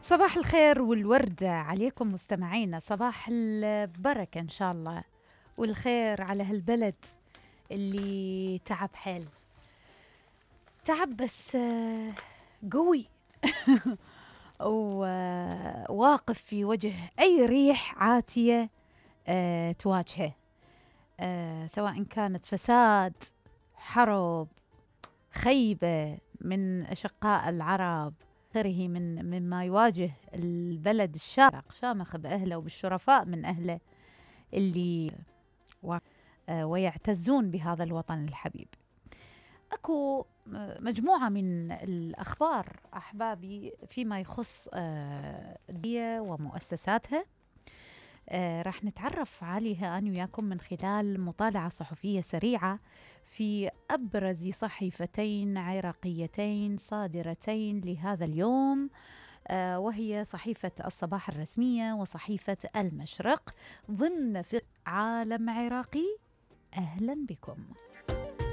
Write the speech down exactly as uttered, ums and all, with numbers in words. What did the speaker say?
صباح الخير والوردة عليكم مستمعينا، صباح البركة إن شاء الله والخير على هالبلد اللي تعب حيل تعب بس قوي وواقف في وجه أي ريح عاتية تواجهه، سواء كانت فساد، حرب، خيبة من أشقاء العرب، غيره من مما يواجه البلد الشارق شامخ بأهله وبالشرفاء من أهله اللي ويعتزون بهذا الوطن الحبيب. أكو مجموعة من الأخبار أحبابي فيما يخص الدولة ومؤسساتها، راح نتعرف عليها أنا وياكم من خلال مطالعة صحفية سريعة في أبرز صحيفتين عراقيتين صادرتين لهذا اليوم، وهي صحيفة الصباح الرسمية وصحيفة المشرق ضمن في عالم عراقي. أهلا بكم.